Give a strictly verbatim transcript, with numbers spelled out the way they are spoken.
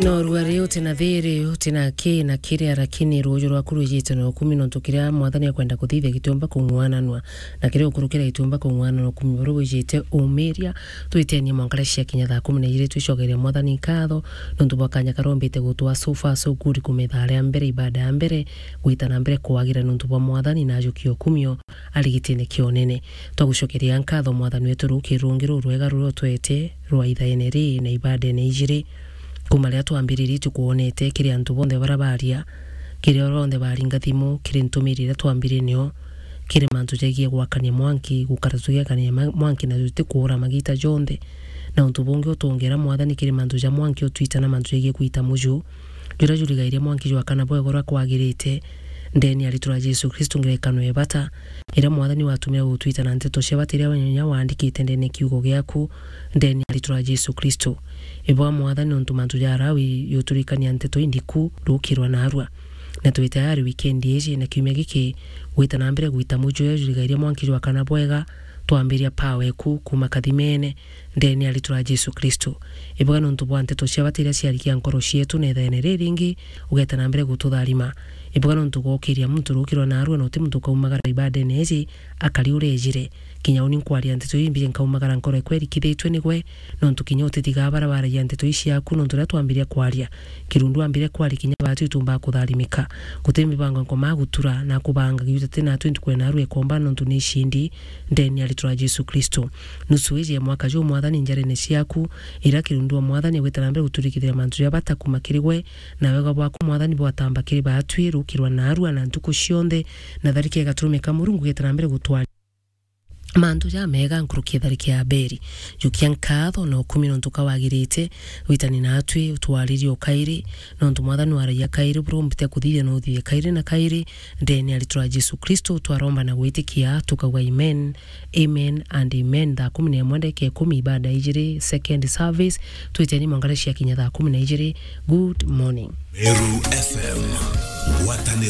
No ruari uti na thiri, uti na ki na kiria, lakini ruuju rwaku rwijite na ukumi, nontu kiria Mwathani akwenda kuthithia gitiumba kung'wananua, na kiria ukurukira gitiumba kung'wananua. Ukumi buru bwijite umiria. Twitenie mwanka cia kinya thaa kumi na ijiri, twicokeria Mwathani nkatho nontu bwa kanya karombite gutwa so far so good, kumitha aria mbere, ibada ya mbere gwita na mbere kwagira nontu bwa Mwathani na ajukia ukumio arigitine kionene. Twagucokeria nkatho Mwathani wetu ruki rungi rurwega ruria utwete rwa ithaene ri na ibadene ijiri. Kuma riria twambiririe tukwonete kiri antu bonthe baria baria, kiri aria bonthe baringa thimu, kiri ntumiri iria twambirie nio, kiri mantu jaigie gwakania mwanki, gukara tugiakania ma-, mwanki na tutikuura magita jonthe. Na untu bungi utwongera Mwathani kiri mantu ja mwanki utwita na mantu jaigie kwita muju, juria jurigairie mwanki jwakana bwega uria kwagirite, ndeni ya ritwa ria Jesu Kristo ngerekano ya bata, iria Mwathani watumire gutwita na nteto cia bata iria wenya waandikite ndene kiugo giaku, ndeni ya ritwa ria Jesu Kristo. Ibwa Mwathani nontu mantu ja Lawi yuturikania nteto indiku rukirwa narua. Na twi tayari wikendi iji na kiumia giki gwita na mbere gwita muju uria jurigairie mwanki jwakana bwega, twambiria power eku kuma kathimene, ndeni ya ritwa ria Jesu Kristo. Ibuga nontu bwa nteto cia bata iria ciarikia nkoro cietu na ithaene riri ringi, ugeta na mbere gututharima. Ibuga nontu gwokiria muntu rukirwa narua na uti muntu ukaumagara ibadene iji akari uria ejire. Kinya uni nkwaria nteto ii mbiji nkaumagara nkoro ekwa irikithitue nigwe, nontu kinya utithigaa bara baragia nteto ii ciaku, nontu riria twambiria kwaria, kirundu ambire kwaria kinya baatu itumbaa kutharimika. Guti mibango nkomaa gutura na kubanga giuta ti naatu ntuku ya narua ikomba nontu ni icindi, ndeni ya ritwa ria Jesu Kristo. Nusu iji ya mwaka juu Mwathani njarene ciaku, ira kirundu wa Mwathani agwita na mbere guturikithira mantu ja bata kuma kiri gwe, na wega bwaku Mwathani bwatamba kiri baatwi rukirwa narua na ntuku cionthe, na tharike igaturumika Murungu geta na mbere gutwari mantu jamega nkuruki ya tharike ya Abeli. Jukia nkatho na ukumi nontu kawagirite, witani naatwi utwaririe ukairi, nontu Mwathani waragia kairi, buria umbite kuthithia na uthithie kairi na kairi, ndeni ya ritwa ria Jesu Kristo twaromba na gwitikia, tukauga amen, amen and amen. Thaa kumi na imwe ndagika ikumi ibada ijiri, second service, twiteni mwangare cia kinya thaa kumi na ijiri. Good morning. Meru F M, ngwataniro